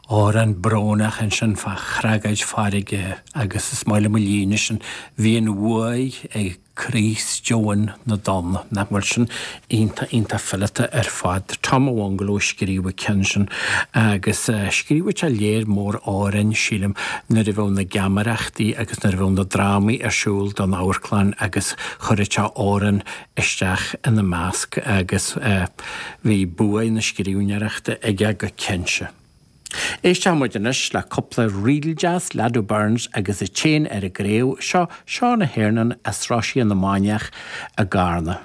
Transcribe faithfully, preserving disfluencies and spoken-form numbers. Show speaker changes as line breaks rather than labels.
Amhrán brónach ansin fá thragóid farraige agus is maith liom an líne sin bhí an bhuaidh ag Críost deoin na dtonn nach bhfuil sin iontach iontach fileata ar fad. Tom Bhungalow scríobh an ceann sin agus scríobhadh sé léar mór amhrán sílim nuair a bheadh na geamaireachtaí agus nuair a bheadh na drámaí ar siúl don amharclann agus chuireadh sé amhrán isteach ina measc agus bhí bua na scríbhneoireachta aige go cinnte. Éisteann muid anois le cúpla ríl deas Lado Burns agus a téin ar an gcraobh seo Seán Hernon as Roisín na Mainiach i gCarna.